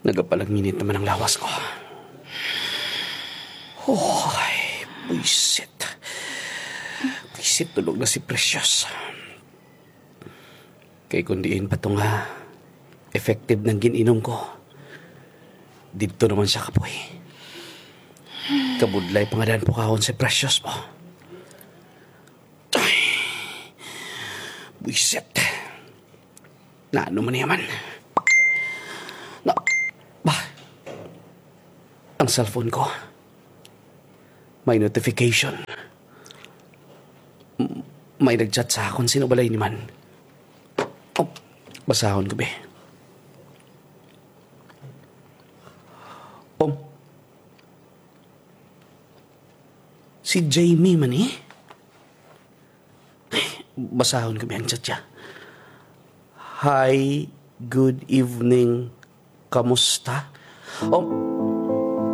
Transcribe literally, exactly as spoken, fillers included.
Nagapalanginit naman ang lawas ko. Hoy, buisit. Buisit, tulog na si Precious. Kay kung diin pa to nga effective nang gin-inom ko, didto naman siya kapoy. Kabudlay pa nga daan pukahon si Precious mo. Ay, buisit. Na ano man yaman? Na, ba? Ang cellphone ko. May notification. M-, may nag-chat sa akon. Sino balay ni man? Oh, basahon ko, be. Oh. Si Jamie man, eh. Basahon ko, be, ang chat niya. "Hi, good evening. Kamusta?" Oh,